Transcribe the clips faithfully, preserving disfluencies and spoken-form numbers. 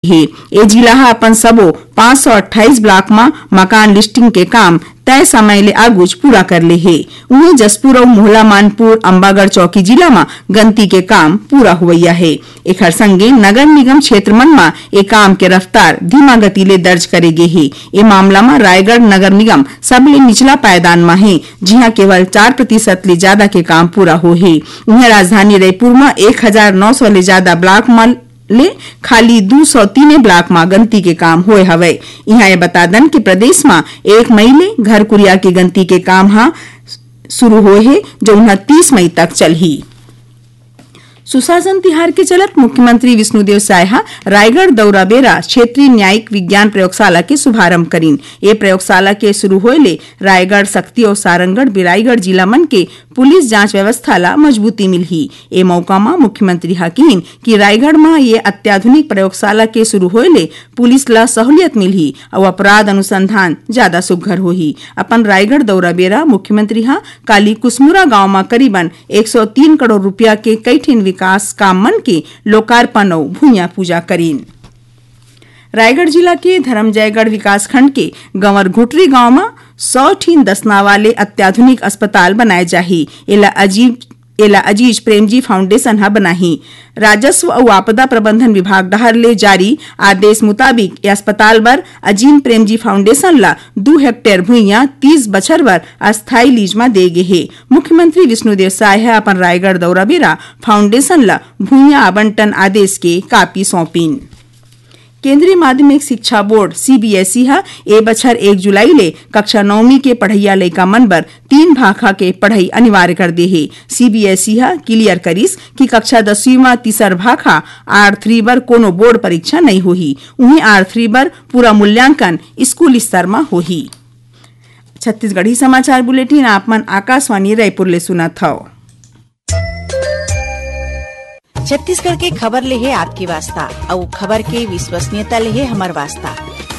हे। ए जिला ह अपन सबो पाँच सौ अट्ठाईस ब्लॉक म मकान लिस्टिंग के काम तय समय ले आगुच पूरा कर ले हे। उहें, जशपुर अउ मोहला मानपुर अम्बागढ़ चौकी जिला म गंती के काम पूरा होवइया हे। एखर संगे नगर निगम क्षेत्र मन म ए काम के रफ्तार धीमा गति ले दर्ज करे गे हे। ए मामला म रायगढ़ नगर निगम सबले निचला पायदान म हे, जिहां केवल चार प्रतिशत ले जादा के काम पूरा होहे। उहें, राजधानी रायपुर म एक हजार नौ सौ ले जादा ब्लॉक म ले खाली दू सौ तीने ब्लॉक म गंती के काम होए हवय। इहां ये बता दन कि प्रदेश म एक मई ले घर कुरिया के गंती के काम ह शुरू होए हे, जउन ह तीस मई तक चलही। सुशासन तिहार के चलत मुख्यमंत्री विष्णुदेव साय ह रायगढ़ दौरा बेरा क्षेत्रीय न्यायिक विज्ञान प्रयोगशाला के शुभारंभ करिन। ए प्रयोगशाला के शुरू होए ले रायगढ़, सक्ती अउ सारंगढ़, बिलाईगढ़ जिला मन के पुलिस जांच व्यवस्था ला मजबूती मिलही। ए मौका म मुख्यमंत्री ह किहिन कि रायगढ़ म ये अत्याधुनिक प्रयोगशाला के शुरू होए ले पुलिस ला सहूलियत मिलही अउ अपराध अनुसंधान जादा सुघ्घर होही। अपन रायगढ़ दौरा बेरा मुख्यमंत्री ह काली कुसमुरा गांव म करीबन एक सौ तीन करोड़ रुपया के कई ठिन विकास काम मन के लोकार्पण अउ भुइयां पूजा करिन। रायगढ़ जिला के धरमजयगढ़ विकासखंड के गंवर घुटरी गांव म सौ ठिन दसना वाले अत्याधुनिक अस्पताल बनाए जाही। एला अजीब एला अजीज प्रेमजी फाउंडेशन ह बनाही। राजस्व अउ आपदा प्रबंधन विभाग डहार ले जारी आदेश मुताबिक, ये अस्पताल बर अजीम प्रेमजी फाउंडेशन ला दू हेक्टेयर भुइयां तीस बछर बर अस्थायी लीज म दे गे हे। मुख्यमंत्री विष्णुदेव साय ह अपन रायगढ़ दौरा बेरा फाउंडेशन ला भुइयां आवंटन आदेश के कापी सौंपिन। केंद्रीय माध्यमिक शिक्षा बोर्ड, सीबीएसई, ह ए बछर एक जुलाई ले कक्षा नौवीं के पढ़इया लइका मन बर तीन भाखा के पढ़ई अनिवार्य कर दे हे। सीबीएसई ह क्लियर करिस कि कक्षा दसवीं म तीसर भाखा, आर थ्री, बर कोनो बोर्ड परीक्षा नइ होही। उहें, आर थ्री बर पूरा मूल्यांकन स्कूल स्तर म होही। छत्तीसगढ़ी समाचार बुलेटिन आप मन आकाशवाणी रायपुर ले सुनत हव। छत्तीसगढ़ के खबर ले हे आपके वास्ता, अउ खबर के विश्वसनीयता ले हे हमर वास्ता।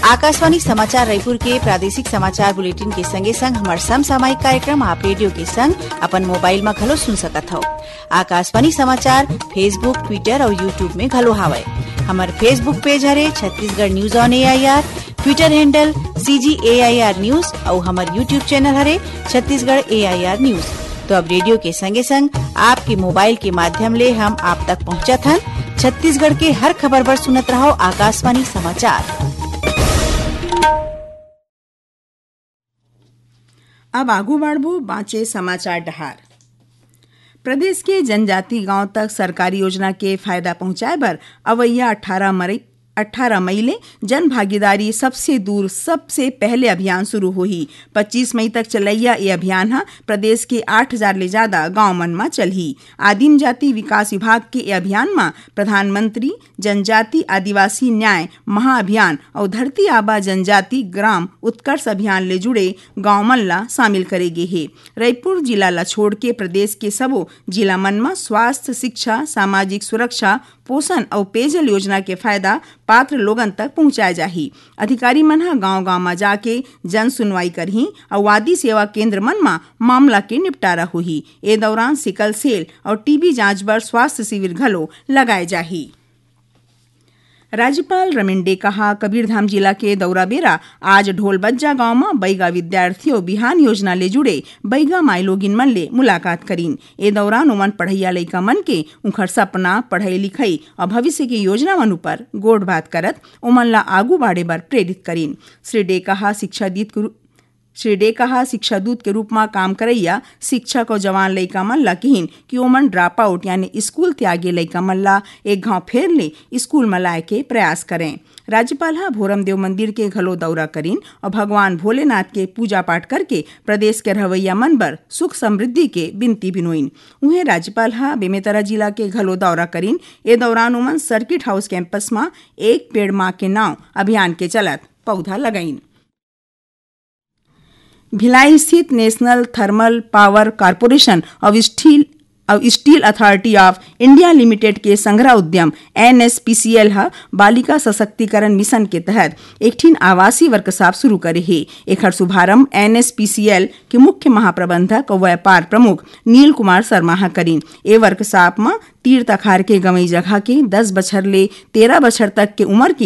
आकाशवाणी समाचार रायपुर के प्रादेशिक समाचार बुलेटिन के संगे संग हमर समसामयिक कार्यक्रम आप रेडियो के संग अपन मोबाइल म घलो सुन सकत हव। आकाशवाणी समाचार Facebook, Twitter अउ YouTube में घलो हावय। हमर Facebook पेज हरे Chhattisgarh news on AIR, Twitter handle CG AIR news अउ हमर YouTube चैनल हरे छत्तीसगढ़ एआईआर न्यूज। तो अब रेडियो के संगे संग आपके मोबाइल के माध्यम ले हम आप तक पहुंचत हन। छत्तीसगढ़ के हर खबर बर सुनत रहव आकाशवाणी समाचार। अब आगू बढ़बो बांचे समाचार डहार। प्रदेश के जनजाति गांव तक सरकारी योजना के फायदा पहुंचाए बर अवइया अठारह मई, अठारह मई ले जन भागीदारी सबसे दूर सबसे पहले अभियान शुरू होही। पच्चीस मई तक चलइया ये अभियान ह प्रदेश के आठ हजार ले ज्यादा गांव मन म चलही। आदिम जाति विकास विभाग के ये अभियान म प्रधानमंत्री जनजाति आदिवासी न्याय महाअभियान अउ धरती आबा जनजाति ग्राम उत्कर्ष अभियान ले जुड़े गांव मन ला शामिल करे गे हे। रइपुर जिला ला छोड़ के प्रदेश के सबो जिला मन म स्वास्थ्य, शिक्षा, सामाजिक सुरक्षा, पोषण अउ पेयजल योजना के फायदा पात्र लोगन तक पहुंचाए जाही। अधिकारी मन ह गांव-गांव म जाके जन सुनवाई करही अउ आदि सेवा केंद्र मन म मामला के निपटारा होही। ए दौरान सिकल सेल अउ टीबी जांच बर स्वास्थ्य शिविर घलो लगाए जाही। राज्यपाल रमेन डेका ह कबीरधाम जिला के दौरा बेरा आज ढोलबज्जा गांव म बैगा विद्यार्थी अउ बिहान योजना ले जुड़े बैगा माईलोगिन मन ले मुलाकात करिन। ए दौरान ओमन पढ़इया लइका मन के उंखर सपना, पढ़ई लिखई अउ भविष्य के योजना मन उपर गोठबात करत ओमन ला आगू बाढ़े बर प्रेरित करिन। श्री डेका ह शिक्षा दीत के रू-, श्री डेका ह शिक्षा दूत के रूप म काम करइया शिक्षक अउ जवान लइका मन ला किहिन कि ओमन ड्रॉपआउट यानी स्कूल त्यागे लइका मन ला एक घांव फेर ले स्कूल म लाए के प्रयास करें। राज्यपाल ह भोरमदेव मंदिर के घलो दौरा करिन अउ भगवान भोलेनाथ के पूजा पाठ करके प्रदेश के रहवइया मन बर सुख समृद्धि के बिनती बिनोइन। उहें, राज्यपाल ह बेमेतरा जिला के घलो दौरा करिन। ए दौरान ओमन सर्किट हाउस कैंपस म एक पेड़ मां के नांव अभियान के चलत पौधा लगाइन। भिलाई स्थित नेशनल थर्मल पावर कॉरपोरेशन अउ स्टील, अउ steel authority of India limited के संघरा उद्यम एनएसपीसीएल ह बालिका सशक्तिकरण मिशन के तहत एक ठिन आवासीय वर्कशॉप शुरू करे हे। एखर शुभारंभ एनएसपीसीएल के मुख्य महाप्रबंधक अउ व्यापार प्रमुख नील कुमार शर्मा ह करिन। ए वर्कशॉप म तीर तखार के गंवई जगह के दस बछर ले तेरह बछर तक के उमर के